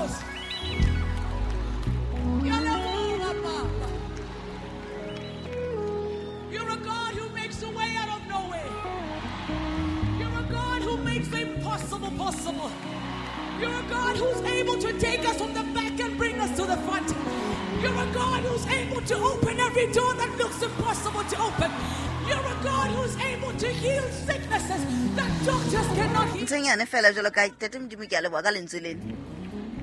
Ghost. Ke a leboha, Papa. You're a God who makes a way out of no way. You're a God who makes the impossible possible. You're a God who's able to take us from the back and bring us to the front. You're a God who's able to open every door that looks impossible to open. You're a God who's able to heal sicknesses that doctors cannot heal. Ntho e nyane fela jalo ka tate Modimo, ke a leboa ka lentswe lena.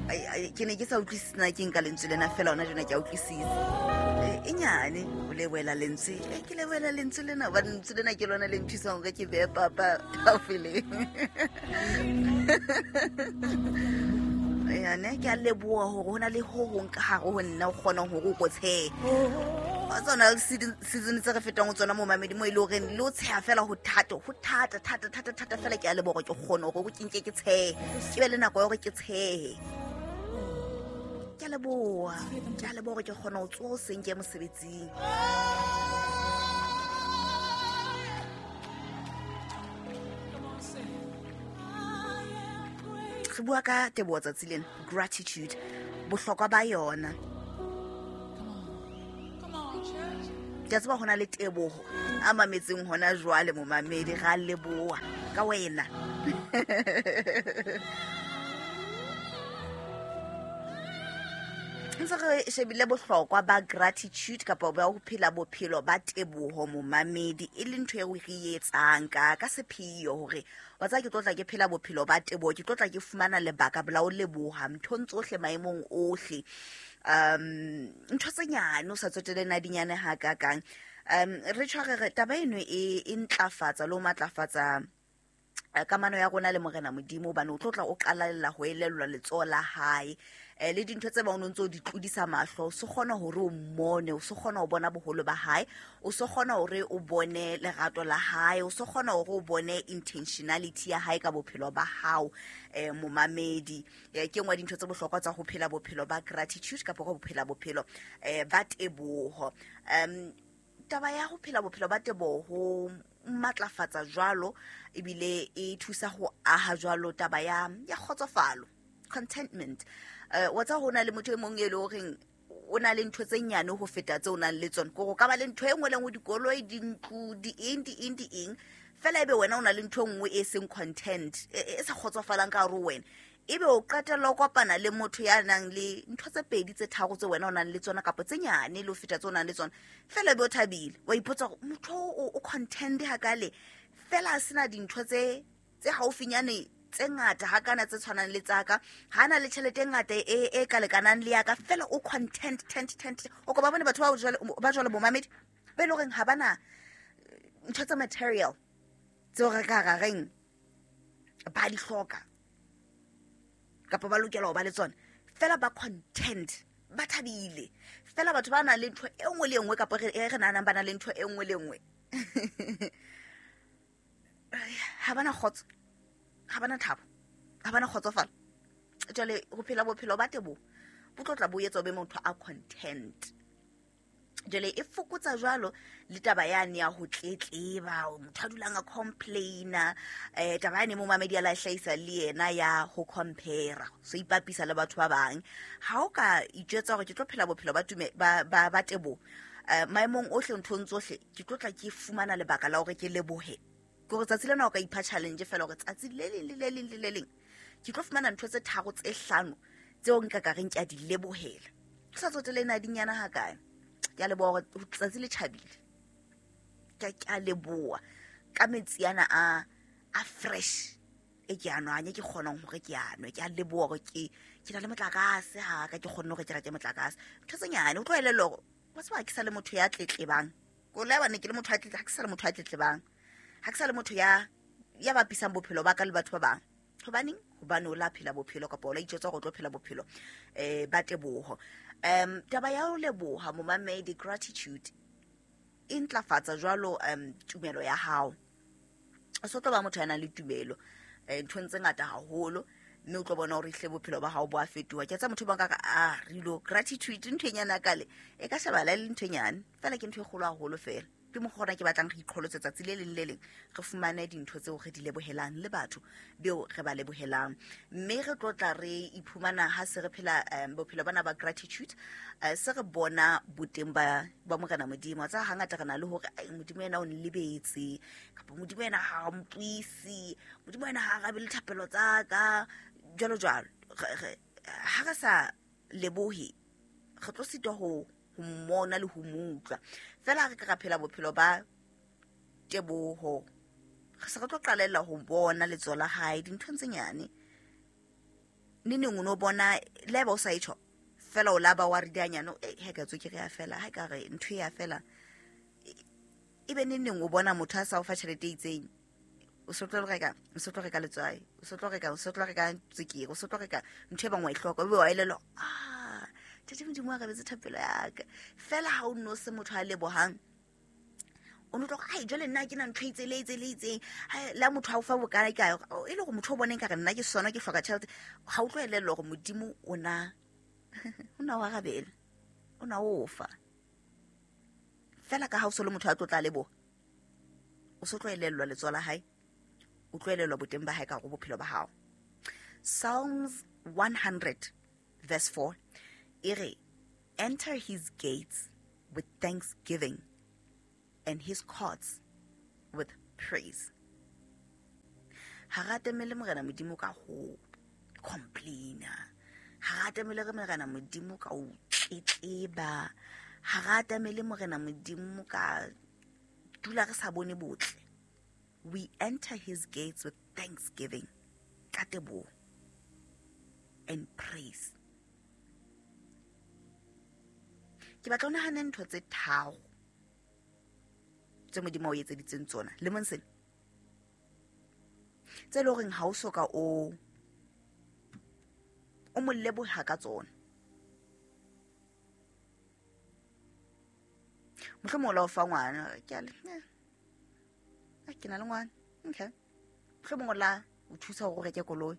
Ai, ai, ke ne ke sa utlwisise na ke nka lentswe lena fela ona jona ke a utlwisisa. E nyane o leboela lentswe. Ke leboela lentswe lena hobane lentswe lena ke lona le nthusang hore ke behe papa tafoleng. Yane ke a leboa hore ho na le ho hong ka hare ho nna o kgonang hore o ko tshehe. Wa tsona le season tse re fetang ho tsona mo mamedi mo e le horeng le o tsheha fela ho thata, ho thata, thata, thata, thata fela. Ke a leboha hore ke kgone hore ke nke ke tshehe, ke be le nako ya hore ke tshehe. Ke a leboha, ke a leboha hore ke kgona ho tsoha hoseng ke ye mosebetsing. Come on, say. I am great. Re bua ka teboho tsatsi lena, gratitude, bohlokwa ba yona. Come on. Come on, church. Ke a tseba ho na le teboho a mametseng hona jwale momamedi, ra leboha ka wena. Ntse re shebile bohlokwa ba gratitude kapa ba ho phela bophelo ba teboho momamedi, e le ntho eo re e etsang ka sepheo hore wa tseba ke tlo tla ke phela bophelo ba teboho, ke tlo tla ke fumana lebaka la ho leboha nthong tsohle maemong ohle. Ntho tse nyane o sa tsotelle na di nyane hakakang. Re tshware re taba eno e ntlafatsa le ho matlafatsa kamano ya rona le Morena Modimo, hobane o tlo tla o qalella ho elellwa letsoho la hae. Le dintho tse bang o ntso di tlodisa mahlo, o se kgona hore o mmone, o se kgona ho bona boholo ba hae, o se kgona hore o bone lerato la hae, o se kgona hore o bone intentionality ya hae ka bophelo ba hao. Momamedi, ke nngwe ya dintho tse bohlokwa tsa ho phela bophelo ba gratitude kapa ho phela bophelo ba teboho. Taba ya ho phela bophelo ba teboho ho matlafatsa jwalo, ebile e thusa ho aha jwalo taba ya kgotsofalo, contentment. Wa tseba ho na le motho e mong e le horeng o na le ntho tse nyane ho feta tse o nang le tsona. Kore o ka ba le ntho e nngwe le nngwe, dikoloi, dintlo, di eng, di eng, di eng. Fela ebe wena o na le ntho e nngwe e seng content, e sa kgotsofalang ka hare ho wena. Ebe o qetella o kopana le motho ya nang le ntho tse pedi tse tharo tse wena o nang le tsona kapa tse nyane le ho feta tse o nang le tsona. Fela ebe o thabile, wa ipotsa hore motho o content hakale, fela a sena dintho tse haufinyane tse ngata hakana tse tshwanang le tsaka, ha na le tjhelete e ngata e ka lekanang le ya ka, fela o content, tent, tent. O ko ba bone batho ba jwalo bomamedi, ba e leng horeng ha bana ntho tsa material tseo re ka ra reng ba di hloka kapa ba lokela ho ba le tsona, fela ba content, ba thabile. Fela batho ba nang le ntho e nngwe le e nngwe kapa e re nahanang ba nang le ntho e nngwe le e nngwe, ha bana kgotso, ha bana thabo, ha bana kgotsofalo. Jwale ho phela bophelo ba teboho bo tlo tla bo etsa o be motho a content. Jwale e fokotsa jwalo le taba yane ya ho tletleba, motho a dulang a complaina. Taba yane momamedi a la hlahisa le yena ya ho compare, so ipapisa le batho ba bang. Ha o ka itjwetsa hore ke tlo phela bophelo ba tume, ba, ba, ba teboho, maemong ohle, nthong tsohle, ke tlo tla ke fumana lebaka la hore ke lebohe. Ke hore tsatsi lena o ka ipha challenge fela hore tsatsi le leng le le leng le le leng ke tlo fumana ntho tse tharo tse hlano tseo nka ka reng ke a di lebohela. Ke sa tsotelle na di nyana hakae. Ke a leboha hore tsatsi le tjhabile. Ke a leboha ka metsi ana a fresh e ke a nwang, e ke kgonang hore ke a nwe. Ke a leboha hore ke na le motlakase ha ka ke kgonne hore ke reke motlakase. Ntho tse nyane, o tlo elellwa hore wa tseba ha ke sa le motho ya tletlebang. Ko le bane ke le motho ya tletlebang, ha ke sa le motho ya tletlebang. Ha ke sa le motho ya bapisang bophelo ba ka le batho ba bang. Hobaneng? Hobane o la phela bophelo kapa o la itjwetsa hore o tlo phela bophelo ba teboho. Taba ya ho leboha momamedi, gratitude e ntlafatsa jwalo tumelo ya hao. O so tlo ba motho ya nang le tumelo nthong tse ngata haholo, mme o tlo bona hore ehlile bophelo ba hao bo a fetoha. Ke tsa motho ba nka ka, rilo gratitude ntho e nyane ya kale e ka shebala e le ntho e nyane, fela ke ntho e kgolo haholo fela. Ke mokgwa ona ke batlang re iqholotse tsatsi le leng le leng, re fumane dintho tseo re di lebohelang le batho beo re ba lebohelang. Mme re tlo tla re iphumana ha se re phela bophelo bana ba gratitude, se re bona boteng ba Morena Modimo. Tsa hangata re na le hore ai Modimo yena o nlebetse, kapa Modimo yena ha a mpuise, Modimo yena ha a arabe dithapelo tsa ka, jwalo jwalo. Ha re sa lebohe, re tlo sitwa ho mmona le ho mo utlwa. Fela ha re ka ra phela bophelo ba teboho, re se re tlo qalella ho bona letsoho la hae dinthong tse nyane. Neneng o no bona le haeba o sa e tjho, fela o laba wa ridianyane, ha ka tswekere ya fela, ha ka re ntho e ya fela. Ebe neneng o bona motho a sa o fa tjhelete e itseng, o so tlo reka, o so tlo reka letswai, o so tlo reka, o so tlo reka tswekere, o so tlo reka ntho e bang wa e hloka, o be wa elellwa, Ntate Modimo a arabetse thapelo ya ka. Fela ha o no se motho a lebohang, o no tlo re, ai, jwale nna ha ke na ntho e itseng, le e itseng, le e itseng. Hai, le ha motho a o fa bokae kae, e le hore motho o boneng ka re nna ke sona ke hloka tjhelete, ha o tlo elellwa hore Modimo o na o na o arabela, o na o fa. Fela ka ha o so le motho a tlo tla leboha, o so tlo elellwa letsoho la hae, o tlo elellwa boteng ba hae ka hore bophelo ba hao. Psalms 100 verse 4 e re, enter his gates with thanksgiving and his courts with praise. Ha re atamele Morena Modimo ka ho complaina, ha re atamele re Morena Modimo ka ho tletleba, ha re atamele Morena Modimo ka dula re sa bone botle. We enter his gates with thanksgiving, ka teboho, and praise. Ke batla o nahane ntho tse tharo tse Modimo a o etseditseng tsona lemong sena, tse leng horeng ha o soka o mo leboha ka tsona. Mohlomong o la o fa ngwana, ke a le, ke na le ngwana, okay. Mohlomong o la o thusa hore o reke koloi.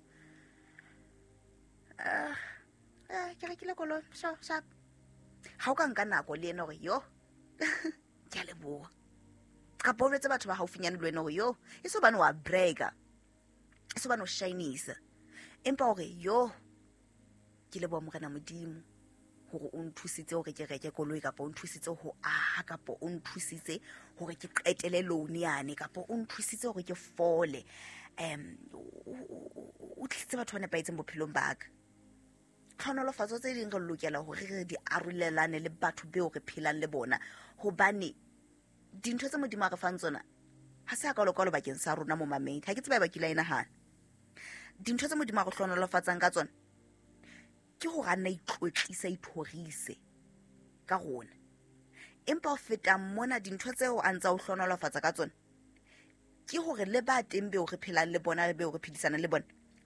Ke rekile koloi, sure, sharp. Ha o ka nka nako le yena hore yo, ke a leboha. Kapa o jwetse batho ba haufinyane le wena hore yo, e se hobane wa bragga, e se hobane o shinisa, empa hore yo, ke leboha Morena Modimo hore o nthusitse hore ke reke koloi, kapa o nthusitse ho aha, kapa o nthusitse hore ke qetele loan yane, kapa o nthusitse hore ke fole. O tlisitse batho ba nepahetseng bophelong ba ka. Tlhonolofatso tse ding re lokela hore re di arolelane le batho beo re phelang le bona, hobane dintho tse Modimo a re fang tsona ha se hakalo-kalo bakeng sa rona momamedi. Ha ke tsebe ba kile a e nahana. Dintho tse Modimo a re hlohonolofatsang ka tsona ke hore a nna itlotlise, a ithorise ka rona. Empa ho feta mona, dintho tseo a ntse a o hlohonolofatsa ka tsona ke hore le ba teng beo re phelang le bona, le beo re phedisanang le bona,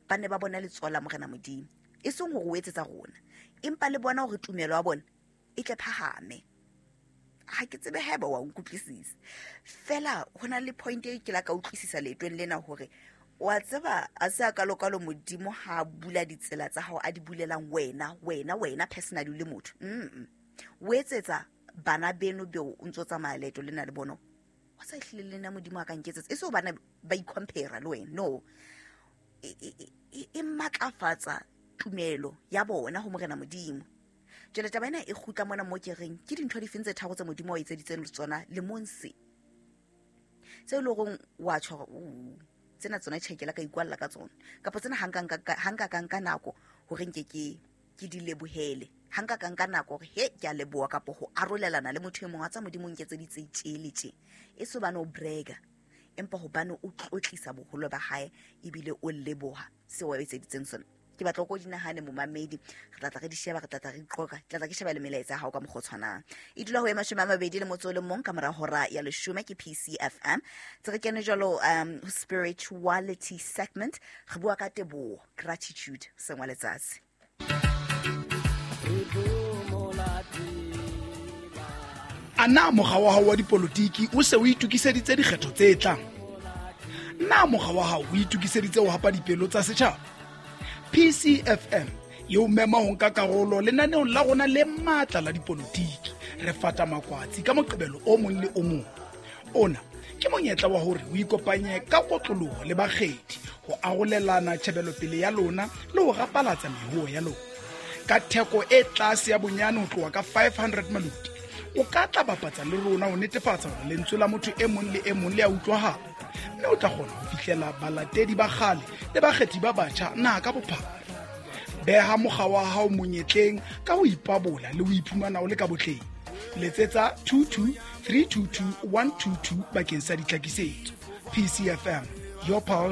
ba ne ba bona letsoho la Morena Modimo. E seng hore o etsetsa rona, empa le bona hore tumelo ya bona e tle phahame. Ha ke tsebe haeba wa nkutlwisisa. Fela ho na le point e ke la ka utlwisisa leetong lena hore wa tseba a se a kalokalo Modimo ha a bula ditsela tsa hao a di bulelang wena, wena, wena personally le motho. O etsetsa bana beno beo o ntso tsamaya leeto lena le bona. Wa sa ehlile le nna Modimo a ka nketsetsa. E se hobane ba i-compare le wena, no. E matlafatsa tumelo ya bona ho Morena Modimo. Jwale taba ena e kgutla mona mo ke reng ke dintho difeng tse tharo tse Modimo a o etseditseng tsona lemong se, tse e leng hore wa tjho hore, tsena tsona tjhe ke la ka ikwalla ka tsona, kapa tsena ha nka ka nka nako hore nke ke di lebohele, ha nka ka nka nako hore he ke a leboha, kapa ho arolelana le motho e mong wa tsa Modimo nketseditse tje le tje. E se hobane o bragga, empa hobane o tlotlisa boholo ba hae ebile o leboha seo a etseditseng sona. Ke batla ko di nahane momamedi, re tla tla re di sheba, re tla tla re iqoqa, ke tla tla ke sheba le melaetsa ya hao ka mokgwa o tshwanang. E dula ho e 21 ka mora hora ya 10 ke PCFM. Tse re kene jwalo, ho spirituality segment, re bua ka teboho, gratitude, sengwa letsatsi. A na mokga wa hao wa dipolotiki o se o itokiseditse dikgetho tse tlang? Na mokga wa hao o itokiseditse ho hapa dipelo tsa setjhaba? PCFM e o mema ho nka karolo lenaneong la rona le matla la dipolotiki. Re fata makwatsi ka Moqebelo o mong le o mong. Ona ke monyetla wa hore o ikopanye ka kotloloho le bakgethi ho arolelana tjhebelopele ya lona le ho rapalatsa mehoo ya lona. Ka theko e tlase ya bonyane ho tloha ka 500 maloti, o ka tla bapatsa le rona ho netefatsa hore lentswe la motho e mong le e mong le a utlwahala, mme o tla kgona ho fihlela balatedi ba kgale le bakgethi ba batjha naha ka bophara. Beha mokga wa hao monyetleng ka ho ipabola le ho iphumana o le ka botleng. Letsetsa 22 322 122 bakeng sa ditlhakisetso. PCFM, your pulse.